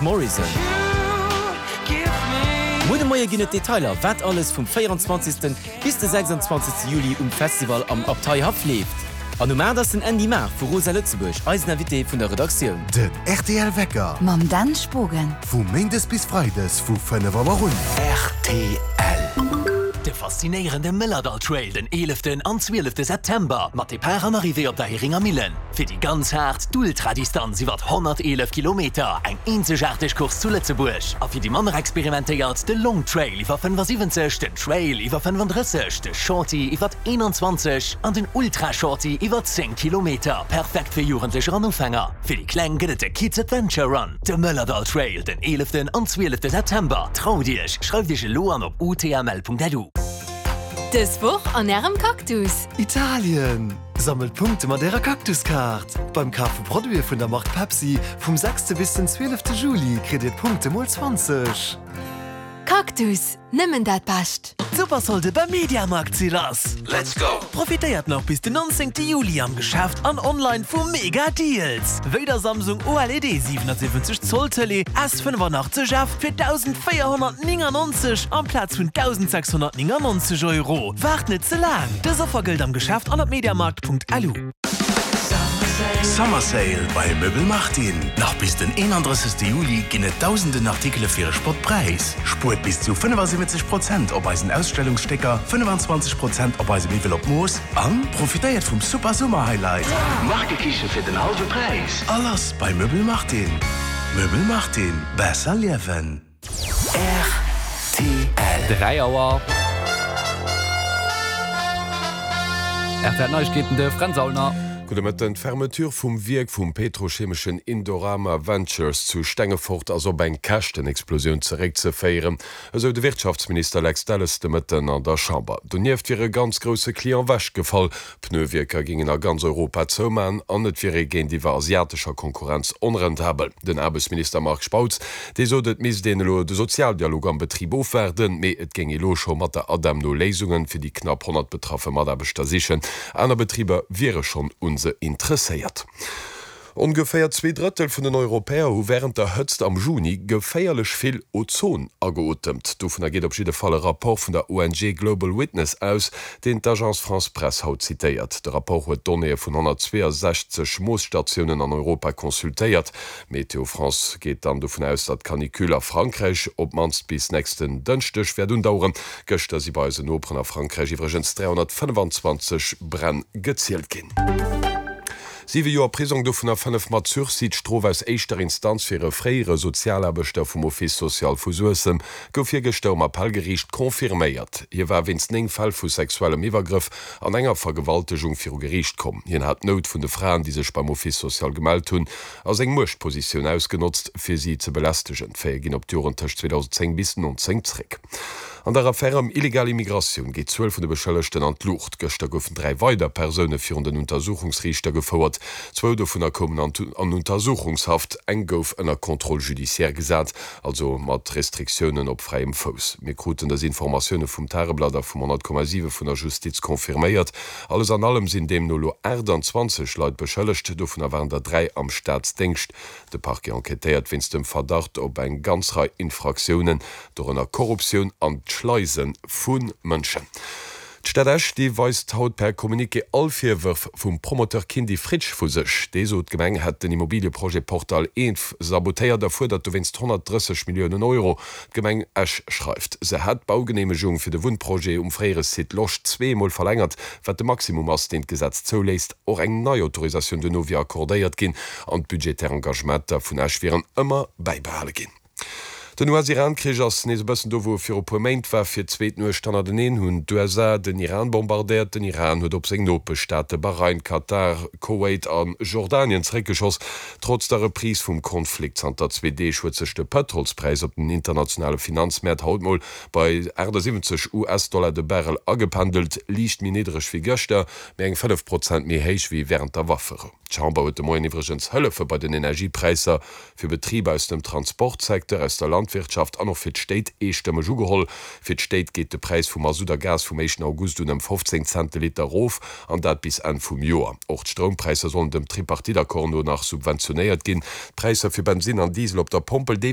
Morrison. Muer de Moie ginn et Detailer, wat alles vum 24. Bis de 26. Juli um Festival am Abteihaff leeft. An um 8 ass den Andy Maar vu Rosa Lëtzebuerg eisen Invité vun der Redaktioun. Den rtl Wecker. Mam Dan Spogen. Vu Méindes bis Freides vu 5 Auer un. Rtl. De faszinéierende Mëllerdall Trail den 11 an 12 September mat Depart an Arrivée op der Heringer Millen. Fir déi ganz haart, d'Ultradistanz iwwert 111 Kilometer, eng eenzegaarteg Course zu Lëtzebuerg. A fir déi manner experimentéiert, de Long Trail iwwer 75, den Trail iwwer 35, de Shorty iwwert 21 an den Ultra Shorty iwwer 10 Kilometer. Perfekt fir Jugendlecher an Ufänger. Fir déi Kleng gëtt et de Kids Adventure Run, de Mëllerdall Trail den 11 an 12 September. Traut Iech, schreift Iech elo an op utml.lu. Dës Woch an Ärem Cactus! Italien! Sammelt Punkte mat ärer Cactus-Kaart! Beim Kaf vu Produite vun der Mark Pepsi vum sechste bis den zwielefte Juli kritt dir d'Punkte mol 20. Cactus, nëmmen dat Bescht! D'Supersolde beim Mediamarkt si lass! Let's go! Profitéiert nach bis den 19 Juli am Geschäft an online vu mega Deals! Wéi der Samsung OLED 77 Zoll Tëlee S85F fir 1.499 amplaz vun 1.699 Euro. Waart net ze laang! Dës Offer gëllt am Geschäft an op mediamarkt.lu. Summer Sale bei Möbel Martin! Nach bis den 31 Juli ginn et dausenden Artikele fir e Spottpräis. Spuert bis zu 75 Prozent op eisen Ausstellungsstécker, 25 Prozent op eise Miwwel op Mooss an profitéiert vum super Summer Highlight! Markekiche fir den hallwe Präis! A lass bei Möbel Martin! Möbel Martin, besser liewen! Rtl. 3 Auer. Rtl Neiegkeeten, de Fränz Aulner. Gudde Mëtten. D'Fermeture vum Wierk vum petrochemeschen Indorama Ventures zu Stengefort ass op eng Käschtenexplosioun zeréckzeféieren, esou de Wirtschaftsminister Lex Delles de Mëtten an der Chamber. Donieft wier e ganz grousse Client wechgefall. Pneuwierker géingen a ganz Europa zoumaen an et wier ee géintiwwer asiatescher Konkurrenz onrentabel. Den Aarbechtsminister Marc Spautz, dee sot, et misst een elo de Sozialdialog am Betrib ofwaarden, mee et géing ee lo scho mat der ADEM no Léisunge fir déi knapp 100 betraffe Mataarbechter sichen. Aner Betriber wiere schonn un se interesséiert. Ongeféier 2/3 vun den Europäer hu wärend der Hëtzt am Juni geféierlech vill Ozon ageotemt. Dovunner geet op jidde Fall e Rapport vun der ONG Global Witness aus, deen d'Agence France-Presse haut zitéiert. De Rapport huet Donnéeë vun 162 Moosstatiounen an Europa consultéiert. Météo France geet dann dovun aus, datt d'Canicule a Frankräich op d'mannst bis nächsten Dënschdeg wäert undaueren. Gëschter si bei eisen Noperen a Frankräich iwwregens 325 Bränn gezielt ginn. Siwe Joer Prisong, dovunner 5 mat Sursis. D'Strof aus éischter Instanz fir e fréiere Sozialaarbechter vum Office social vu Suessem gouf virgëschter um Appellgeriicht confirméiert. Hie war wéinst 9 Fäll vu sexuellem Iwwergrëff an enger Vergewaltegung viru Geriicht komm. Hien hat d'Nout vun de Fraen, déi sech beim Office social gemellt hunn, a seng Muechtpositioun ausgenotzt, fir si ze belästegen. D'Faite ginn op d'Joren tëscht 2010 bis 19 zréck. An der Affär ëm illegal Immigratioun geet d'Zuel vun de Beschëllegten an d'Luucht. Gëschter goufen 3 weider Persoune virun den Untersuchungsriichter gefouert. Zwou dovunner koumen an Untersuchungshaft, eng gouf ënner Contrôle judiciaire gesat, also mat Restriktiounen op fräiem Fouss. Mir kruten dës Informatioune vum Tageblatt a vum 100,7 vun der Justiz confirméiert. Alles an allem sinn deemno elo 28 Leit beschëllegt, dovunner waren der 3 am Staatsdéngscht. De Parquet enquêtéiert wéinst dem Verdacht op eng ganz Rei Infraktiounen, dorënner Korruptioun an d'Schleise vu Mënschen. D'Stad Esch, déi weist haut per Communiqué all Virwërf vum Promoteur Kindy Fritsch vu sech. Dee sot, d'Gemeng hätt den Immobilieprojet Portal Eenf sabotéiert a fuerdert dowéinst 130 Milliounen Euro. D'Gemeng Esch schreift, se hätt d'Baugeneemegung fir de Wunnprojet um fréiere Site Losch zweemol verlängert, wat de Maximum ass, deen d'Gesetz zouléisst. Och eng nei Autorisatioun duerno wier accordéiert ginn an d'budgetär Engagementer vun Esch wieren ëmmer bäibehale ginn. Den US-Iran-Krich ass nees e bëssen do, wou e viru puer Méint war. Fir d'zweet Nuecht hannerteneen hunn d'USA den Iran bombardéiert. Den Iran huet op seng Nopeschstaate Bahrain, Katar, Kowait a Jordanien zeréckgeschoss. Trotz der Reprise vum Konflikt zanter zwee Deeg huet sech de Pëtrolspräis op den internationale Finanzmäert haut mol bei 78 US-Dollar de Barrel agependelt, liicht méi niddereg wéi gëschter, mee eng 5 Prozent méi héich wéi wärend der Wafferou. D'Chamber huet de Moien iwwregens Hëllefe bei den Energiepräisser fir Betriber aus dem Transportsecteur, aus der Landwirtschaft an och fir d'Stéit eestëmmeg ugeholl. Fir d'Stéit geet de Präis vu Masutt a Gas vum éischten August un ëm 15 Cent de Liter erof, an dat bis Enn vum Joer. Och d'Stroumpräisser sollen dem Tripartite-Accord no nach subventionéiert ginn. D'Präisser fir Bensinn an Diesel op der Pompel, déi.